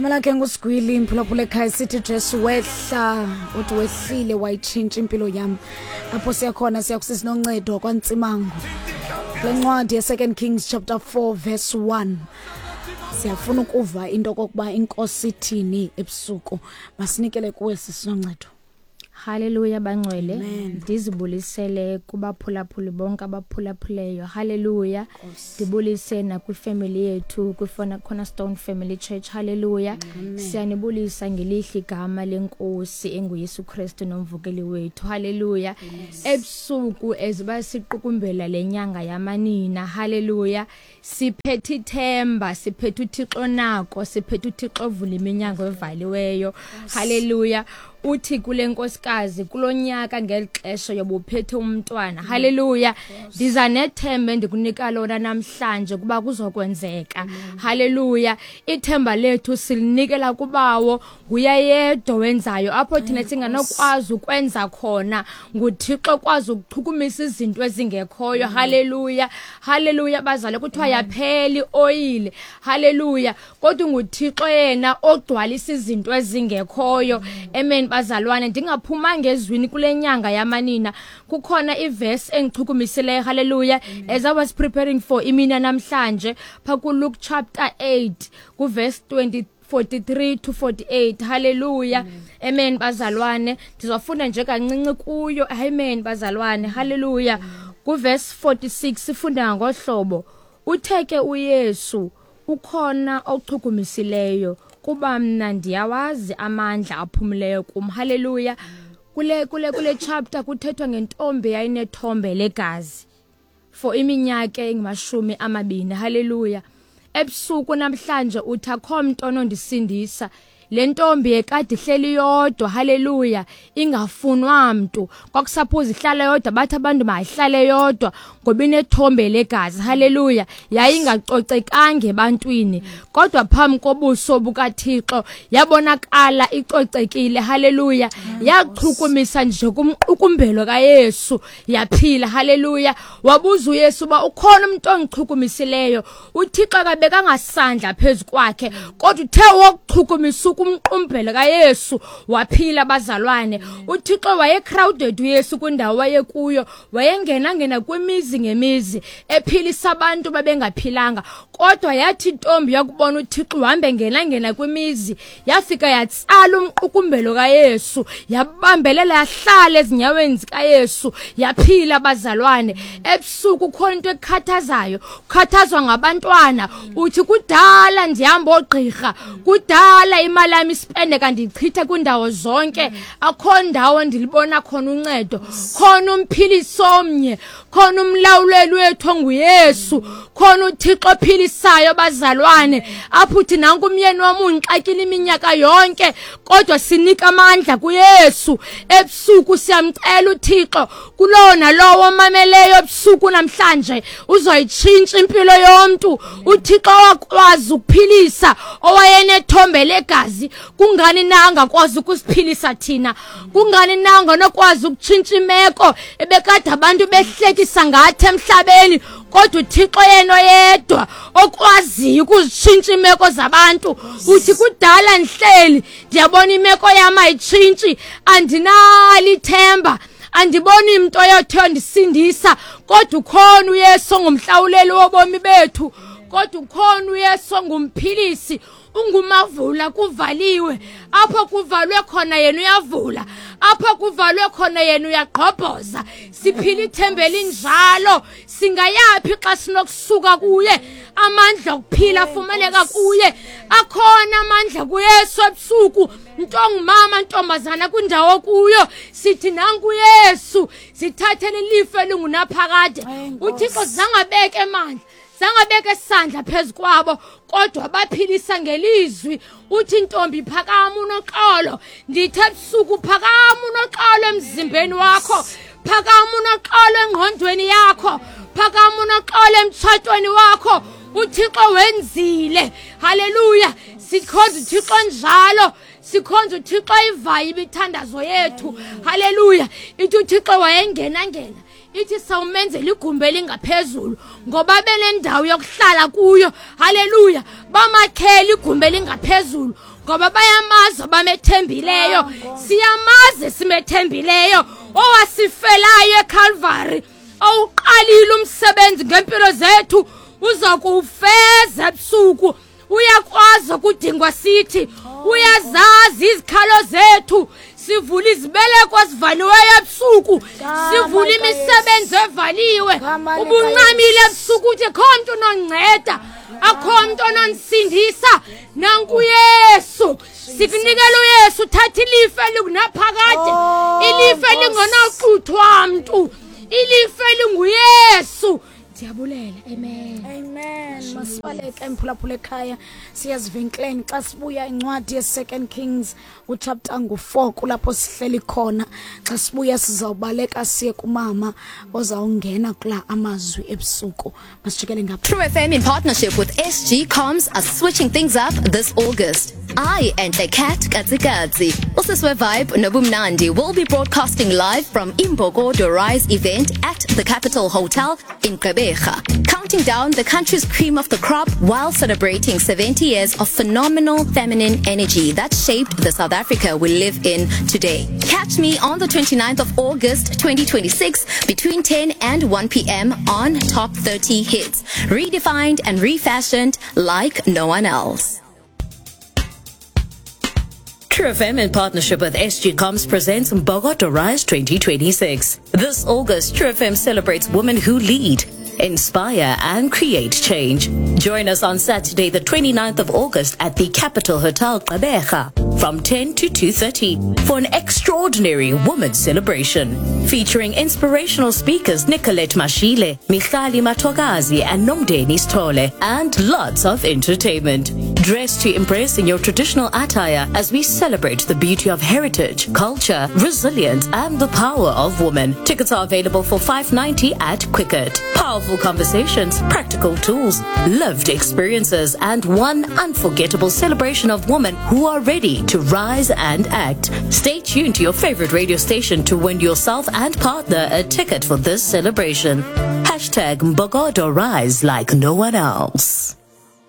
Igama lakhe nguSigwili, mphulaphula ekhaya. Sithi Jesu wehla, uthi wehlile wayitshintsha impilo yam. Apho siyakhona siyakusisi noncedo kwaNtsimango. Kule ncwadi ye-Second Kings chapter 4 verse 1. Siyafuna ukuva into kokuba inkosi ithini ebusuku. Masinikele kuwe sisinoncedo. Haleluya bangcwele, ndizibulisele kubaphulaphuli bonke abaphulaphuleyo. Haleluya. Ndibulise nakwifemeli yethu kwifona Cornerstone Family Church. Haleluya. Siyanibulisa ngelihle igama lenkosi enguYesu Kristu nomvukeli wethu. Haleluya. Ebusuku eziba siqukumbela lenyanga yamanina. Haleluya. Siphethe ithemba, siphethe uThixo nako, siphethe uThixo ovula iminyango evaliweyo. Haleluya. Uthi kule nkosikazi kulonyaka ngeli xesha yobuphethe umntwana. Haleluya. Ndiza nethemba endikunika lona namhlanje kuba kuzokwenzeka. Haleluya. Ithemba lethu silinikela kubawo, nguye yedwa wenzayo apho thina singanokwazi ukwenza khona. NguThixo okwazi ukuchukumisa izinto ezingekhoyo. Haleluya. Haleluya bazale, kuthiwa yaphela ioyile. Haleluya. Kodwa nguThixo yena ogcwalisa izinto ezingekhoyo. Amen bazalwane, ndingaphuma ngezwini kule nyanga yamanina. Kukhona iverse engichukumisileyo. Haleluya. As I was preparing for imina namhlanje, pha ku Luke chapter 8 ku verse 20 43 to 48. Haleluya. Amen bazalwane, ndizofunda nje kancinci kuyo. Amen bazalwane. Haleluya. Ku verse 46 sifunda ngohlobo: uthe ke uYesu, ukhona ochukumisileyo, kuba mna ndiyawazi amandla aphumileyo kum. Haleluya. Kule chapter kuthethwa ngentombi yayinethombe legazi for iminyaka engama-20. Haleluya. Ebusuku namhlanje uthi akho mntu onondisindisa. Le ntombi ekade ihleli yodwa, haleluya, ingafunwa mntu, kwakusaphoza ihlala yodwa, bathi abantu mayihlale yodwa ngoba inethombe legazi. Haleluya. Yayingacocekanga ebantwini, kodwa phambi kobuso bukaThixo yabonakala icocekile. Haleluya. Yachukumisa nje kumqukumbelo kaYesu, yaphila. Haleluya. Wabuza uYesu uba ukhona umuntu ongichukumisileyo. UThixo akabekanga sandla phezu kwakhe, kodwa uthe wokuchukumisa kumqumbelo kaYesu waphila bazalwane. UThixo waye crowded uYesu kwindawo wayekuyo, wayengena ngena kwimizi ngemizi ephilisa abantu babengaphilanga, kodwa yathi intombi yakubona uThixo uhambe ngena ngena kwimizi, yafika yatsala umqukumbelo kaYesu, yabambelela, yahlala ezinyaweni zikaYesu, yaphila bazalwane. Ebusuku khona into ekukhathazayo, ukhathazwa ngabantwana, uthi kudala ndihamba ogqirha, kudala imali yami isipendeka ndiyichitha kwindawo zonke, akho ndawo ndilibona khona uncedo. Khona umphilisi omnye, khona umlawuleli wethu onguYesu, khona uThixo ophilisayo bazalwane. Apho uthi nanku umyeni wam undixakile iminyaka yonke, kodwa sinika amandla kuYesu. Ebusuku siyamcela uThixo kulowo nalowo omameleyo ebusuku namhlanje, uzoyitshintsha impilo yomntu. UThixo wakwazi ukuphilisa owayenethombe legazi, kungani na angakwazi ukusiphilisa thina? Kungani na anganokwazi ukutshintsha imeko ebekade abantu behlekisa ngathi emhlabeni? Kodwa uThixo yena oyedwa okwaziyo ukuzitshintsha imeko zabantu. Uthi kudala ndihleli ndiyabona imeko yam ayitshintshi, andinalo ithemba, andiboni mntu oyothe ondisindisa, kodwa ukhona uYesu ongumhlawuleli wobomi bethu, kodwa ukhona uYesu ongumphilisi, ungumavula kuvaliwe. Apho kuvalwe khona yena uyavula, apho kuvalwe khona yena uyagqobhoza. Siphila ithemba elinjalo, singayaphi xa sinokusuka kuye? Amandla okuphila afumaneka kuye, akhona amandla kuYesu. Ebusuku ntongumama, ntombazana, kwindawo kuyo sithi nanku Yesu, sithathele ilifa elingunaphakade. UThixo zangabeke emandla, zangabeka isandla phezu kwabo, kodwa baphilisa ngelizwi. Uthi ntombi phakama unoxolo. Ndithe ebusuku phakama unoxolo emzimbeni wakho, phakama unoxolo engqondweni yakho, phakama unoxolo emtshatweni wakho. UThixo wenzile. Haleluya. Sikhonza uThixo njalo, sikhonza uThixo ivayo imithandazo yethu. Haleluya. Ithi uThixo wayengena ngena. Ithi sawumenzela igumbi elingaphezulu ngoba benendawo yokuhlala kuyo. Haleluya. Bamakhela igumbi elingaphezulu ngoba bayamazi abamethembileyo. Siyamazi simethembileyo owasifelayo eCalvary, owuqalile umsebenzi ngempilo zethu, uza kuwufeza ebusuku. Uyakwazi okudingwa sithi, uyazazi izikhalo zethu. Sivula izibeleko ezivaliweyo ebusuku, sivula imisebenzi evaliwe. Ubuncamile ebusuku uthi kho mntu unonceda, akho mntu onondisindisa. Nanku Yesu, sikunikela uYesu. Uthatha ilifa elikunaphakade, ilifa elingonaxuthwa mntu, ilifa elinguYesu. Ndiyabulela, amen. Amen. Masibaleke emphulaphula ekhaya, siyazivenkileni. Xa sibuya, incwadi ye-Second Kings uchapter ngu-4 kulapho sihleli khona. Xa sibuya sizawubaleka siye kumama ozawungena kula amazwi ebusuku. Masijikele ngapha. True FM in partnership with SG Comms are switching things up this August. I and the Cat Katsikatsi, Usiswe Vibe Nobumnandi will be broadcasting live from Imbokodo Rise event at the Capital Hotel in Gqeberha, counting down the country's cream of the crop while celebrating 70 years of phenomenal feminine energy that shaped the South Africa we live in today. Catch me on the 29th of August 2026 between 10 and 1 p.m. on Top 30 Hits, redefined and refashioned like no one else. True FM in partnership with SG Comms presents Mbokodo Rise 2026. This August, True FM celebrates women who lead, inspire and create change. Join us on Saturday, the 29th of August at the Capital Hotel Gqeberha from 10 to 2:30 for an extraordinary women's celebration featuring inspirational speakers Nicolette Mashile, Michali Matogazi and Nomdeni Stole, and lots of entertainment. Dress to impress in your traditional attire as we celebrate the beauty of heritage, culture, resilience and the power of women. Tickets are available for $5.90 at Quicket. Powerful conversations, practical tools, lived experiences and one unforgettable celebration of women who are ready to rise and act. Stay tuned to your favorite radio station to win yourself and partner a ticket for this celebration. Hashtag Mbokodo Rise like no one else.